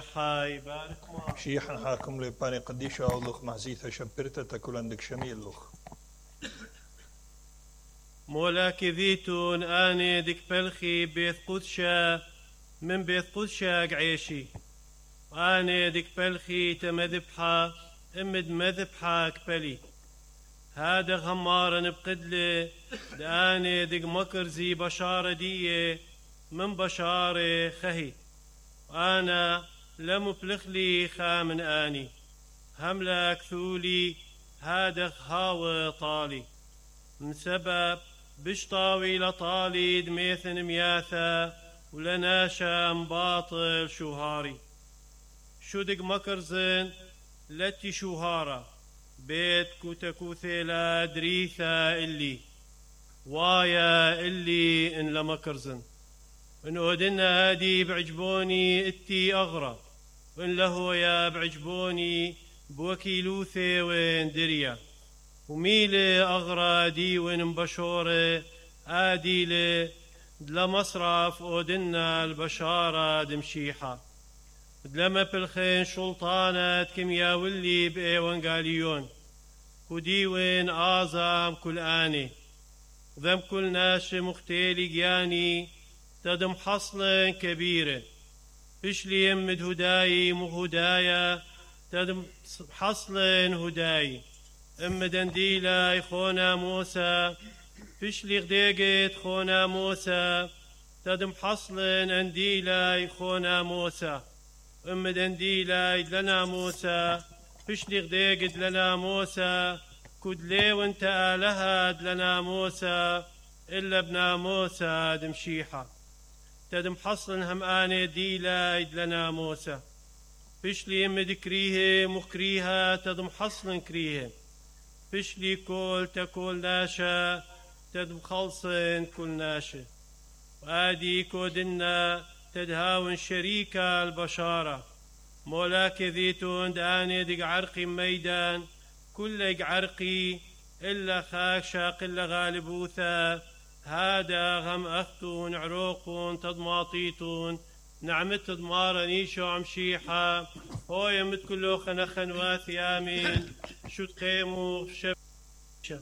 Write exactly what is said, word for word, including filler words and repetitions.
حاي بارك ما شيحا حاكم لي باني قديشة أولوخ محزيثة شبرتة تاكل عندك شميل لوخ مولاك ذيتون آني دك بلخي بيت قدشة من بيت قدشة قعيشي آني دك بلخي تمذبحة امد مذبحة كبلي هذا غمارا بقدلي داني دق مكرزي بشارة دية من بشارة خهي أنا لم بلخلي خامن آني هملك ثولي هذا هاوى طالي من سبب بشطاوي لطالي دميثن مياثا ولناشا باطل شوهاري شو دق مكرزن لتي شوهارا بيت كوتكوثيلا دريثا اللي وايا اللي ان لمكرزن ان اودنا هادي بعجبوني اتي اغرى وان له يا بعجبوني بوكيلوثي وين دريا وميلي اغرى دي وين مبشورة اديلي لمصرف اودنا البشارة دمشيحة لما بالخين شلطانة كميا واللي بأيوان قاليون وديوين آزام كل آني ذم كل ناش مختيلي جياني تدم حصل كبيرة فشلي يمد هداي مهدايا تدم حصل هداي ام دنديلا خونا موسى فشلي غديقت خونا موسى تدم حصل انديلا خونا موسى ام دنديلا لنا موسى فشلي غديقت لنا موسى كدلي وانت آلهد لنا موسى إلا ابن موسى دمشيحة تدم حصل هم آني ديلا لنا موسى فشلي يم دكريه مكريها تدم حصل كريه فشلي كل تكل ناشا تدم خلصن كل ناشا وآدي كودنا تدهاون شريكة البشارة مولاك ذيتون داني دق عرقي ميدان كل عرقي إلا خاكشاق إلا غالبوثا هذا غم أختون عروقون تضماطيتون نعمت تضمارا نيشو عمشيحة هو يمت كله خنخن واثي آمين شو تقيموا شب